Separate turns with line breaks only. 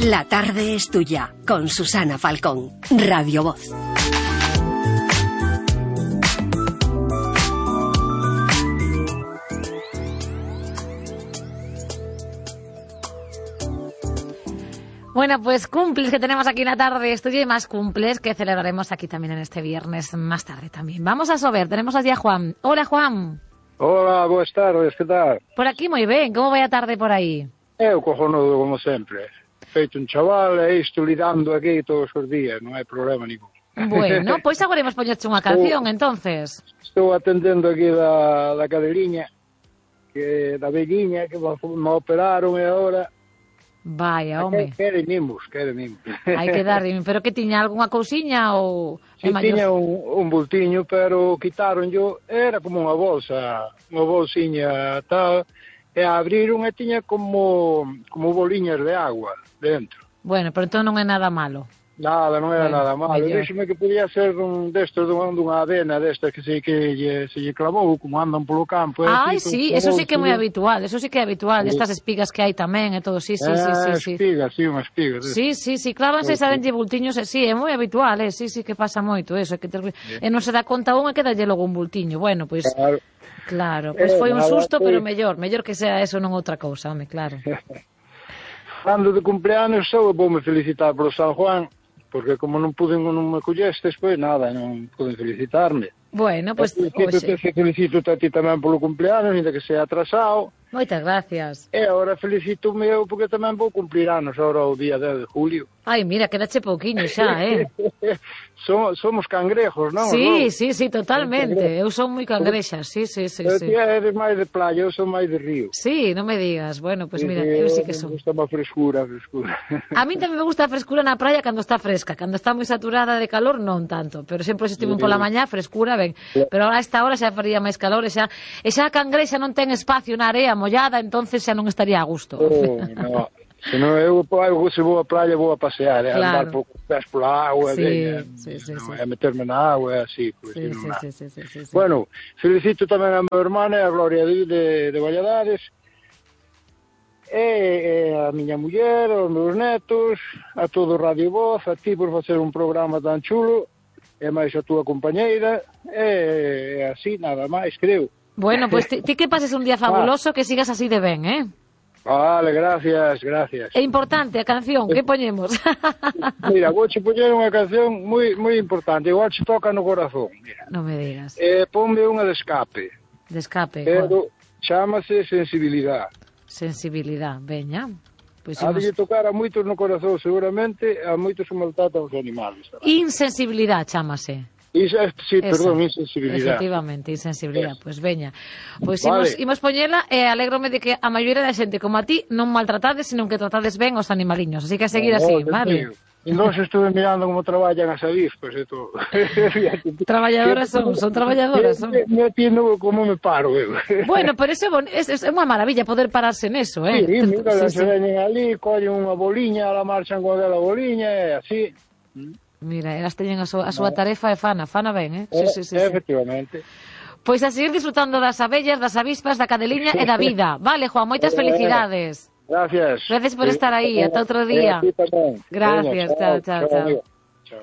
La tarde es tuya, con Susana Falcón, Radio Voz.
Bueno, pues cumples que tenemos aquí en la tarde estudio y más cumples que celebraremos aquí también en este viernes más tarde también. Vamos a saber, tenemos allí a Juan. Hola, Juan.
Hola, buenas tardes, que tal?
Por aquí moi ben, como vai a tarde por aí?
Eu cojonudo, como sempre. Feito un chaval e isto lidando aquí todos os días, non hai problema ningún.
Bueno, pois agora imos poñerche unha canción, entonces.
Estou atendendo aquí da cadeliña, que da velliña, que me operaron e agora...
Vaya, home.
Quere mimos.
Hai que dar, pero que tiña algunha cousiña ou...
Si tiña un bultiño, pero quitaron yo, era como unha bolsiña tal, e abriron e tiña como boliñas de agua dentro.
Bueno, pero entón non é nada malo.
Nada, non era nada malo. Díxeme que podía ser destos dunha avena destas que se lle clavou, como andan polo campo.
Ai, sí, eso sí que é moi habitual, estas espigas que hai tamén e todo, sí.
Espigas, sí, unhas espigas.
Sí, clávanse esa denlle bultiños, sí, é moi habitual, sí, que pasa moito eso, e non se dá conta un e queda lle logo un bultiño. Bueno, pois, claro, pois foi un susto, pero mellor que sea eso non outra cousa, home, claro.
Cando de cumpleanos sou, voume felicitar polo San Juan, porque como non me collestes, pois nada, non poden felicitarme.
Bueno, pois...
Felicito a ti tamén polo cumpleanos, ainda que sea atrasado.
Moitas gracias.
E agora felicito o meu, porque tamén vou cumplir anos agora o día 10 de julio.
Ai, mira, quedache pouquiño xa,
Somos cangrejos, non?
Sí, totalmente. Eu son moi cangrexa, sí.
Pero ti eres máis de playa, eu son máis de río.
Sí, non me digas. Bueno, pois mira, eu sí que son.
Me gusta má frescura.
A mí tamén me gusta a frescura na praia cando está fresca. Cando está moi saturada de calor, non tanto. Pero sempre se estive pola mañá, frescura, ben. Pero ahora a esta hora xa faría máis calor e xa a cangrexa non ten espacio na area mollada, entonces xa non estaría a gusto.
No. Se non eu se vou a playa vou a pasear, andar por pés pola agua, a meterme na agua, así.
Sí.
Bueno, felicito tamén a meu hermana e a Gloria de Valladares, e a miña muller, aos meus netos, a todo Radio Voz, a ti por facer un programa tan chulo, e máis a túa compañeira, e así, nada máis, creo.
Bueno, pois ti que pases un día fabuloso, que sigas así de ben,
Vale, gracias.
É importante a canción, que poñemos?
Mira, vouche poñer unha canción moi importante, igual se toca no corazón, mira.
Non me digas.
Ponme unha de escape.
De escape,
pero chámase Sensibilidad.
Sensibilidad, veña. Pois
ha de tocar a moitos no corazón, seguramente, a moitos se maltratan os animales.
Insensibilidad, chámase.
Sí, perdón, insensibilidad.
Efectivamente, insensibilidad. Pois veña. Pois imos poñela e alégrome de que a maioría da xente como a ti non maltratades, senón que tratades ben os animaliños. Así que a seguir así, vale?
Non se estuve mirando como traballan as avispas e todo.
Traballadoras son traballadoras.
Non entiendo como me paro eu.
Bueno, pero eso é unha maravilla poder pararse neso,
Sí, mira, se veñen ali, collen unha boliña, la marchan con aquela boliña e así.
Mira, elas teñen a súa tarefa e fana ben, Sí.
Efectivamente.
Pois a seguir disfrutando das abellas, das avispas, da cadeliña e da vida. Vale, Juan, moitas felicidades.
Gracias.
Gracias por estar aí, ata outro día.
Gracias.
Gracias, chao.
Chao.